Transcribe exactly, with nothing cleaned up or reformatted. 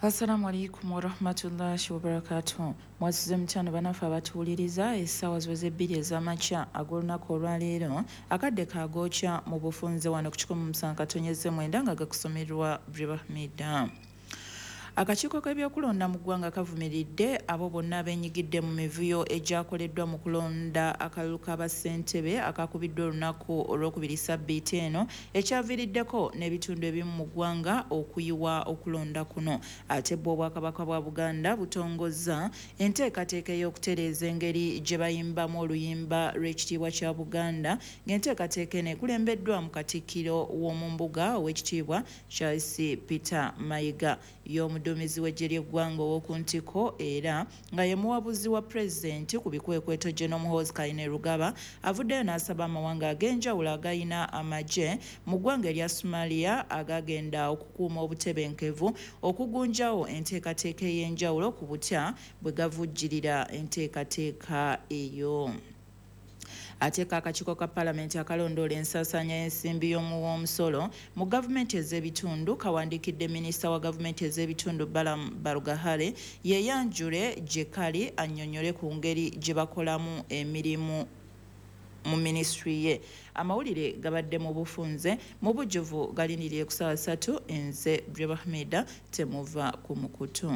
Assalamu alaikum warahmatullahi wabarakatuh. Mwasuze mutano banafe abatuwuliriza. Essaawa ziweze bbiri ez'amakya ag'olunaku olwaleero, akadde kagookya mu bufunze wano ku kikumi musanvu katonyeze mwenda nga gakusomerwa Bribahmida. Akakiiko k'ebyokulonda mu ggwanga kavumiridde abo bonna abeenyigidde mu mivuyo egyakoleddwa mu kulonda akalulu k'abassentebe akakubiddwa olunaku olwokubiri ssabbiiti eno, ekyaviiriddeko n'ebitundu ebimu mu ggwanga okuyiwa okulonda kuno. Ate bwo Obwakabaka bwa Buganda butongozza enteekateeka ey'okutereeza engeri gye bayimbamu oluyimba lw'ekitiibwa kya Buganda, ng'enteekateeka eno ekulembeddwa mu Katikkiro w'Omumbuga Oweekitiibwa Charles Peter Mayiga. Y'omuduumizi w'eggye ly'eggwanga ow'oku ntiko era nga ye muwabuzi wa pulezidenti ku bikwekweto General Muhoozi Kainerugaba avuddeyo n'asaba amawanga ag'enjawulo agayina amagye mu ggwanga erya Somalia agagenda okukuuma obutebenkevu okugunjawo enteekateeka ey'enjawulo ku butya bwe gavujjirira enteekateeka eyo. Ate akakiiko ka Palamenti akalondoola ensaasaanya y'ensimbi y'omuwomusolo mu gavumenti ez'ebitundu kawandiikidde minisita wa gavumenti ez'ebitundu Balaam Barugahare yeeyanjule gye kali annyonnyole ku ngeri gye bakolamu emirimu mu minisitule ye. Amawulire gabadde mu bufunze mu bujjuvu galindirire ku ssaawa ssatu. Nze Bribahmida, temuva ku mukutu.